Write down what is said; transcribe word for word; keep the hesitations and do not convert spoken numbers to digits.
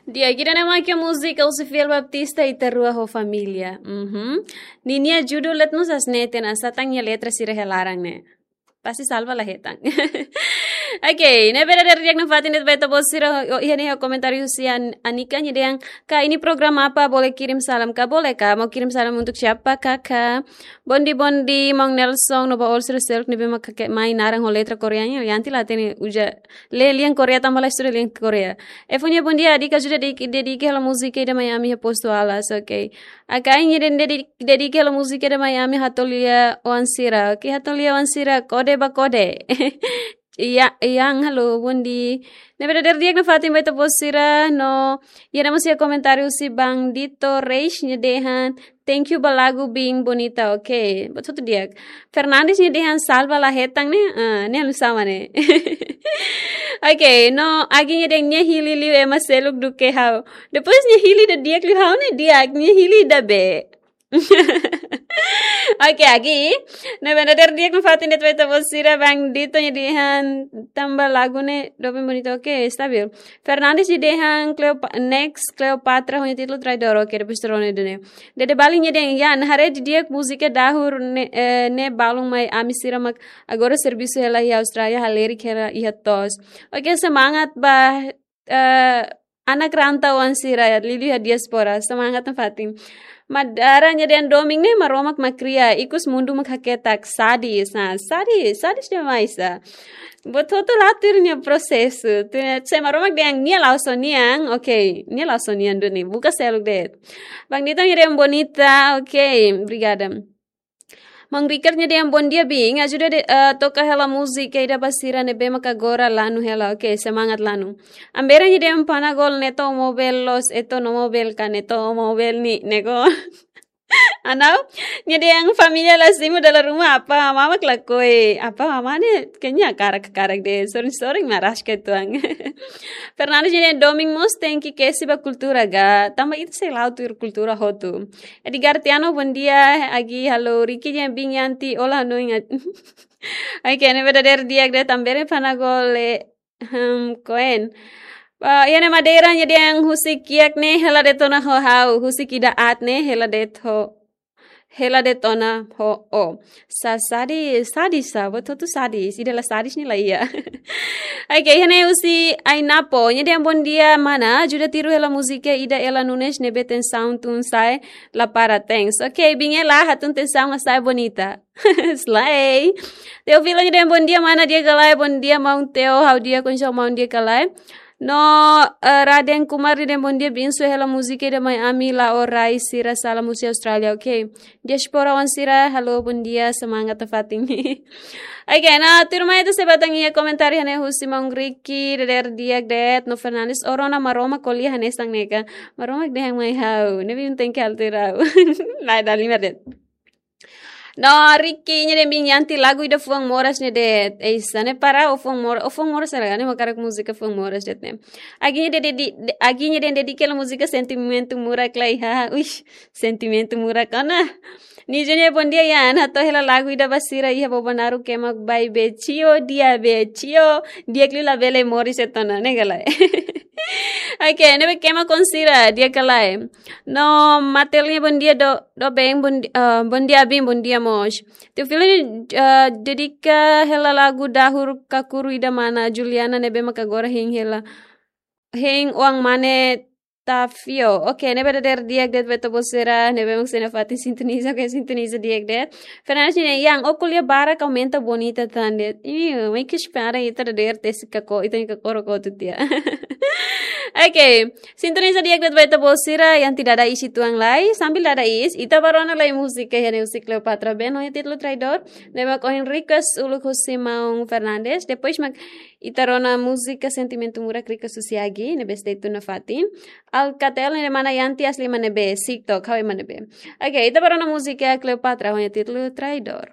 Di'ak, ida-ne'e mak múzika husi Fiel Baptista, Ita Rua ho Família. Mhm. Ninia judul de'it mós hanesan ne'e, hatán nia letra sira iha laran ne'e. Pasti Salva la hetan. Oke, ne'e verdadeiro di'ak nafatin de'it ba ita-boot sira, o, iha ne'e komentáriu husi An-, Anika nia dehan, "Kak, ini program apa? Boleh kirim salam kak?" Boleh kak, mau kirim salam untuk siapa, Kakak? Bondi, bondi, Maun Nelson, no ba all sira seluk ne'ebé mak hakerek mai naran ho letra Koreanya, Yanti la hatene uza lee lian Korea tanba la estuda lian Korea. Efonia, bondia, Dika ajuda di, dedika hela múzika ida mai ami iha Postu Alas, oke. Akai nia dehan dedi-, dedika hela múzika ida mai ami Hatolia Oan Sira, oke, Hatolia Oan Sira, kode ba kode. Iya, iya, halo, bondi. Ne'e verdadeiro di'ak nafatin ba ita-boot sira, no, iha ne'e mós iha komentáriu husi Bang Dito Reis nia dehan, "Thank you ba lagu bem bonita", oke. Buat hotu di'ak. Fernandes nia dehan, "Salva la hetan ne'e?" Ah, ne'e halo sama ne'e. Oke, no, Agi nia dehan nia hili liu ema seluk duké ha'u. Depois nia hili ida di'ak liu ha'u ne'e di'ak, nia hili ida be. Oke, Agi. Ne'e verdadeiro di'ak nafatin de'it ba ita-boot sira, Bang Dito nia dehan tanba lagu ne'e doben bonita. Oke, stabil. Fernandes nia dehan Cleopa-, next Cleopatra ho nia títulu Traidor. Oke, depois terone dene. Dede Bali nia dehan, "Ya, haree didi'ak múzika dahur ne'e, eh, ne'e balun mai ami sira mak agora servisu hela iha Austrália, halerik hela iha to'os." Oke, semangat ba, eh, anak rantauan sira, liuliu iha diáspora, semangat nafatin. Madara nia dehan domin ne'e Maromak mak kria, ikus mundu mak haketak, sadis. Nah, sadis, sadis demais, ah. Buat hotu la tuir nia prosesu. Tuir nia, se Maromak dehan nia la'ós ó-nian, oke, nia la'ós ó-nian duni, buka seluk de'it. Bang Dito nia dehan bonita, oke, obrigada. Maun Ricardo nia dehan bondia, biin, ajuda de, eh, toka hela múzika ida ba sira ne'ebé mak agora lanu hela, oke, semangat lanu. Ambera nia dehan Panagol neto mobil los, eto no mobil ka neto mobil ni, nego. Anau, nia dehan família la simu dala ruma, apá amá mak lakohi, apá amá ne'e kayaknya karak-karak de'it, sorin-sorin mak rasik uitoan. Fernandes nia dehan domin mós tenke kesi ba kultura ga, tanba ita sei la'o tuir kultura hotu. Edgar Tiano, bondia, Agi, halo, Ricky nia dehan biin Yanti, olá, no ingat. Oke, ne'e verdadeiro di'ak de'it, ambera Panagol, eh, hmm, koen. Ah, iha ne'e Madeira nia dehan husik kiak ne'e hela de'it ona ho ha'u, husik ida aat ne'e hela de'it ho, hela de'it ona ho ó. Sa-, sadis, sadis sa, buat hotu sadis, ida la sadis ne'e la iha. Oke, iha ne'e husi Ainapo, nia dehan bondia mana, ajuda tiru hela múzika ida Ela Nunes ne'ebé tensaun tun sa'e la para, thanks. Oke, biin Ela hatun tensaun sa'e bonita. Slay. Teofilo nia dehan bondia mana, di'ak ka lae, bondia maun Teo, ha'u di'ak, kondisaun maun di'ak ka lae. No, eh, Raden Kumar nia dehan bondia, biin sue hela múzika ida mai ami, la'o rai sira sala múzika Austrália, oke. Diáspora oan sira, halo, bondia, semangat nafatin. Oke, nah, tuirmai ita sei bá tan iha komentáriu iha ne'e husi maun Ricky, dadeer di'ak de'it, no Fernandes, ó rona Maromak ko'alia hanesan ne'e ka. Maromak dehan mai ha'u, ne'ebé mak tenke halo tuir ha'u. Lae, dala lima de'it. No, Ricky nia dehan biin Yanti lagu ida fuan moras ne'e de'it. Ei, sa ne'e para ó fuan mor-, ó fuan moras hela, ne'e mak hakarak múzika fuan moras de'it ne'e. Agi nia dehan dedi-, de-, Agi nia dehan dedika hela múzika Sentimentu Murak lai, ha. Uish, Sentimentu Murak ona. Nijo nia bondia, Yan, hato'o hela lagu ida ba sira iha Bobonaro, kema bai be tio dia be tio, di'ak liu labele moris uitoan ona, ne'e ka lae. Oke, ne'ebé kema kon sira, di'ak ka lae. No, Matel nia bondia do, doben, bondi-, eh, bondia biin, bondia mós. Teofilo nia, eh, dedika hela lagu dahur kakuru ida mana, Juliana ne'ebé mak agora hein hela. Hein oan mane Tafio. Oke, ne'e verdadeiro di'ak de'it ba ita-boot sira, ne'ebé mak sei nafatin sintoniza, oke, sintoniza di'ak de'it. Fernandes nia dehan, Yan, ó ko'alia barak aumenta bonita tan de'it. Ih, mai ke espera ita dadeer tesi kako, ita-nia kakoro kotu tiha. Oke, sintoniza di'ak de'it ba ita-boot sira, Yanti dada iis uitoan lai, sambil dada iis, ita bá rona lai múzika iha ne'e husi Cleopatra Band, ho nia títulu Traidor, ne'ebé mak ohin request uluk husi maun Fernandes, depois mak ita rona múzika Sentimentu Murak request husi Agi, ne'ebé stay tune nafatin. Alcatel ne'e mana Yanti asli ema ne'ebé, TikTok, ha'u ema ne'ebé. Oke, ita bá rona múzika Cleopatra, ho nia títulu Traidor.